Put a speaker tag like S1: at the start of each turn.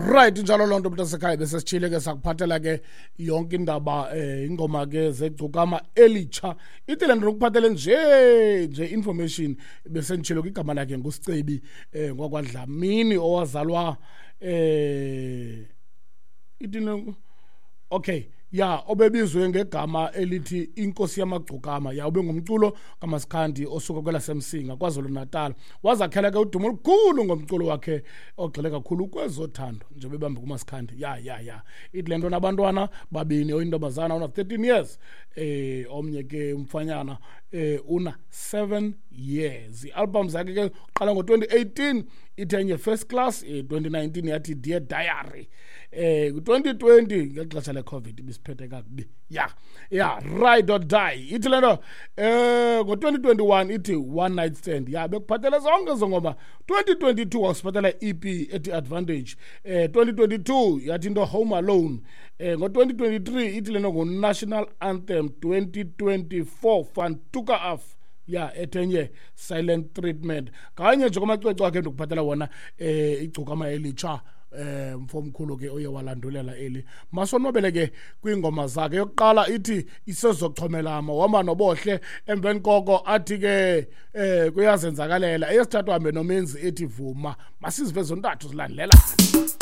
S1: Right, njalo loo nto, mntasekhaya. Besesitshile ke, sakuphathela ke yonke indaba, ingoma ke zeGcokama Elitsha. Ithi le nto ndikuphathele nje nje information, besenditshilo ke, igama lakhe nguSicebi ngwakwaDlamini, owazalwa ithi okay, ya, obebizwe ngegama elithi Inkosi Yamagcokama. Ya, ube ngumculo kaMasikhandi osuka kwelaseMsinga, KwaZulu Natal. Wazakhela ke udumo olukhulu ngomculo wakhe ogxile kakhulu kwezothando, njengoba ebambe kuMasikhandi. Ya, ya, ya, ithi le nto nabantwana babini, oyintombazana una 13 years, omnye ke umfanyana una 7 years. I-album zakhe ke uqala ngo-2018, ithi enye First Class, 2019 yathi Dear Diary, ku-2020 ngexesha le-COVID ibisiphethe kakubi, ya, ya, Ride or Die. Ithi le nto ngo-2021 ithi One Night Stand. Ya, bekuphathele zonke ezo ngoma. 2022 wasiphathela i-EP ethi Advantage, 2022 yathi into Home Alone, ngo-2023 ithi le nto ngu-National Anthem, 2024 Fantuka Af, ya, ethenye Silent Treatment. Kanye nje kwamacwecwe akhe ndikuphathela wona, Igcokama Elitsha, mfomkhulu ke oye walandulela eli. Masonwabele ke kwiingoma zakhe. Yokuqala ithi Isezochomelama, wahamba noBohle. Emveni koko athi ke Kuyazenzakalela. Eyesithathu hambe noMenzi, ethi Vuma. Masizive zontathu zilandelana.